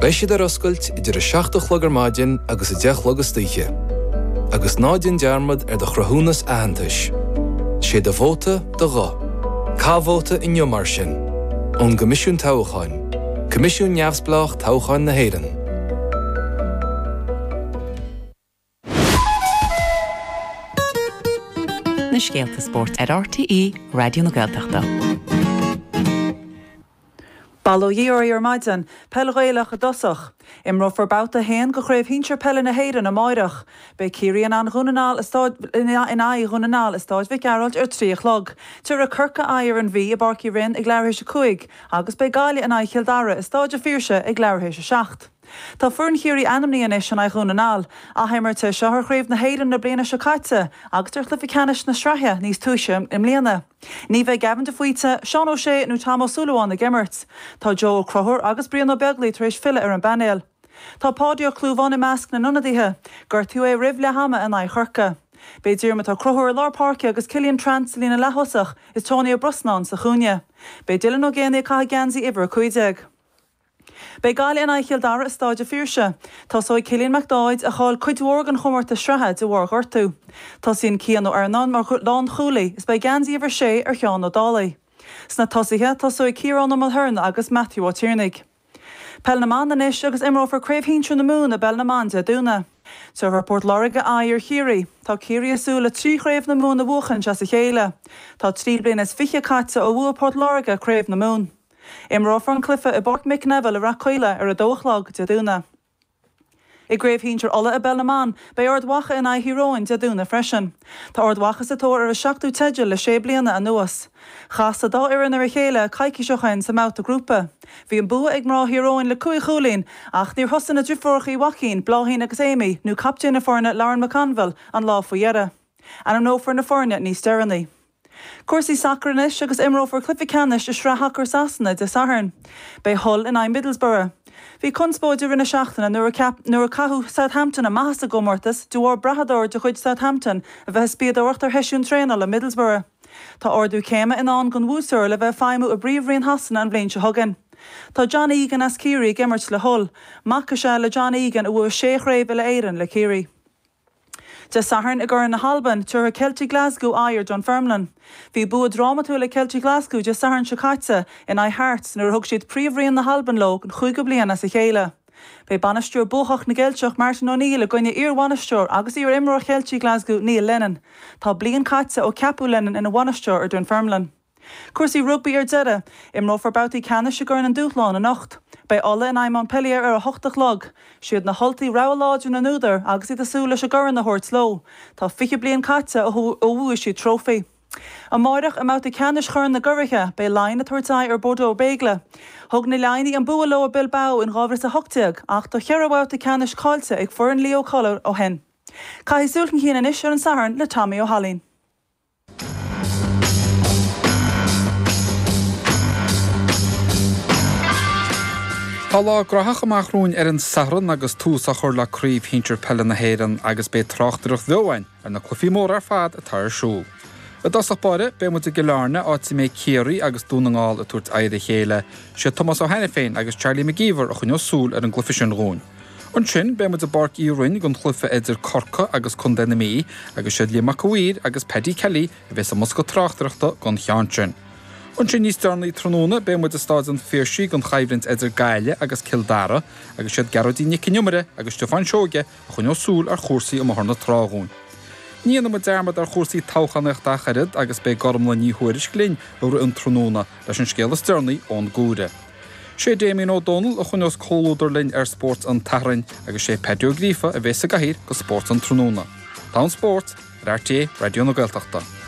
Beidh siad ar oscailt idir 7 a chlog ar maidin agus 10 a chlog istoíche. Agus ná déan dearmad ar do chruthúnas aitheantais. Sé do vóta do ghuth. Caith vóta inniu mar sin. Ón gCoimisiún Toghcháin, Coimisiún Neamhspleách Toghcháin na hÉireann. Na scéalta spóirt ar RTÉ Raidió na Gaeltachta. Bail ó Dhia oraibh ar maidin. Peil Ghaelach i dtosach. Imreofar Babhta 1 de Chraobh Shinsir Peile na hÉireann amáireach. Beidh Ciarraí in aghaidh Dhún na nGall i in aghaidh Dhún na nGall i Stáid Mhic Gearailt ar 3 a chlog. Tabharfaidh Corcaigh aghaidh ar an Mhí i bPáirc Uí Rinn ag leathuair théis 5 agus beidh Gaillimh in aghaidh Chill Dara i Stáid a' Phiarsaigh ag leathuair théis 7. Tá foireann Chiarraí ainmnithe anois in aghaidh Dhún na nGall. Athimirt é seo ar Chraobh na hÉireann na bliana seo caite agus ar chluiche ceannais na sraithe níos túisce i mbliana. Ní bheidh Gavin de Faoite, Seán O'Shea nó Tom Ó Súilleabháin ag imirt. Tá Joe Ó Conchúir agus Brian Ó Beaglaoich tar éis filleadh ar an bpainéal. Tá Páidí Ó Clúmháin i measc na n-ionadaithe. Gortaíodh é roimh leath ama in aghaidh Chorcaí. Beidh Diarmuid Ó Conchúir i lár páirce agus Killian Trant sa líne leath-thosach is Tony Ó Brosnáin sa chúinne. Beidh Dylan Ó Géibheannaigh ag caitheamh geansaí uimhir 15. Beidh Gaillimh in aghaidh Chill Dara i Stáid a' Phiarsaigh. Tosóidh Cillian Mac Dáid, a chaill cuid mhór den chomórtas sraithe de bharr gortú. Tosaíonn Cian Ó Iarnáin mar lánchúlaí is beidh geansaí uimhir 6 ar Sheán Ó Dálaigh. Sna tosaithe, tosóidh Ciarán Ó Mulhern agus Matthew Ó Tiarnaigh. Peil na mBan anois agus imreofar Craobh Shinsir na Mumhan i bPeil na mBan Dé Domhnaigh. Tabharfaidh Port Láirge aghaidh ar Chiarraí. Tá Ciarraí ag súil le 3 chraobh na Mumhan a bhuachaint as a chéile. Tá 3 bliana is fiche caite ó bhuaigh Port Láirge Craobh na Mumhan. Imreofar an cluiche i bPáirc Mick Neville i Rath Caola ar 2 a chlog Dé Domhnaigh. I gCraobh Shinsir Uladh i bPeil na mBan, beidh Ard Mhacha in aghaidh Thír Eoghain Dé Domhnaigh freisin. Tá Ard Mhacha sa tóir ar a seachtú teideal le sé bliana anuas. Chas an dá fhoireann ar a chéile coicís ó shoin sa mbabhta grúpa. Bhí an bua ag mná Thír Eoghain le cúig chúilín ach níor thosaigh na driofúracha Uí Mhaicín, Bláithín agus Amy, nó captaen na foirne Lauren McConville an lá faoi dheireadh. Ainmneofar na foirne níos deireanaí. Cúrsaí sacair anois agus imreofar cluiche ceannais i Sraith Shacair Sasana Dé Sathairn. Beidh Hull in aghaidh Middlesbrough. Bhí conspóid i rith na seachtaine nuair a nuair a caitheadh Southampton amach as an gcomórtas de bharr brathadóir de chuid Southampton a bheith ag spiadóireacht ar sheisiún traenála Middlesbrough. Tá ardú céime i ndán don bhuaiteoir le bheith ag feidhmiú i bPríomhroinn Shasana an bhliain seo chugainn. Tá John Egan as Ciarraí ag imirt le Hull. Mac is ea le John Egan a bhuaigh sé chraobh uile-Éireann le Ciarraí. Dé Sathairn i gCorn na hAlban, tabharfaidh Ceiltigh Glasgow aghaidh ar Dunfermline. Bhí bua drámatúil ag Ceiltigh Ghlaschú Dé Sathairn seo caite in aghaidh Hearts nuair a thug siad Príomhroinn na hAlban leo don chúigiú bliain as a chéile. Beidh bainisteoir buacach na gCeilteach Martin O'Neill i gcoinne iar-bhainisteoir agus iar-imreoir Cheiltigh Glasgow Neil Lennon. Tá bliain caite ó ceapadh Lennon ina bhainisteoir ar Dunfermline. Cúrsaí rugbaí ar deireadh. Imreofar babhtaí ceannais i gCorn an Dúshláin anocht. Beidh Ulaidh in aghaidh Montpellier ar a hocht a chlog. Siad na hUltaigh rogha láidir na n-údar agus iad ag súil leis an gcorn a thabhairt leo. Tá 20 bliain caite ó bhuaigh siad trófaí. Amáireach, i mbabhta ceannais Chorn na gCuraithe, beidh Laighin ag tabhairt aghaidh ar Bordeaux Bègles. Thug na Laighnigh an bua leo i Bilbao in 2018 ach tá cheithre bhabhta ceannais caillte ag foireann Leo Cullagh ó shin. Caithfidh súil chun cinn anois ar an Satharn le Tommy Ó hAilín. Tá lá graitheach amach romhainn ar an Satharn agus tús á chur le Craobh Shinsir Peile na hÉireann agus beidh tráchtaireacht bheo againn ar na cluichí móra ar fad atá ar siúl. I dtosach báire, beidh muid i gCill Airne, áit a mbeidh Ciarraí agus Dún na nGall ag tabhairt aghaidh ar a chéile. Siad Tomás Ó hAiniféin agus Charlie McGeever a choinneoidh súil ar an gcluiche sin dhúinn. Ansin, beidh muid i bPáirc Uí Rinn don chluiche idir Corcaigh agus Contae na Mí agus siad Liam Mac a' Mhaoir agus Paddy Kelly a bheas i mbosca tráchtaireachta don cheann sin. Ansin níos deireanaí tráthnóna beidh muid i Stáid an Phiarsaigh don choimhlint idir Gaillimh agus Cill Dara agus siad Gearóidín Nic an Iomaire agus Stiofán Seoige a choinneoidh súil ar chúrsaí i mBóthar na Trá dhúinn. Ní dhéanfaidh muid dearmad ar chúrsaí toghchánaíochta ach oiread agus beidh Gormlaith Ní Thuairisg linn i rith an tráthnóna leis an scéal is deireanaí ón gComhairle. Sé Damien Ó Dónaill a choinneos comhluadar linn ar Spórt an tSathairn agus sé Paddy Ó Gríofa a bheas sa gcathaoir do Spórt an Tráthnóna. Tá an spórt ar RTÉ Raidió na Gaeltachta.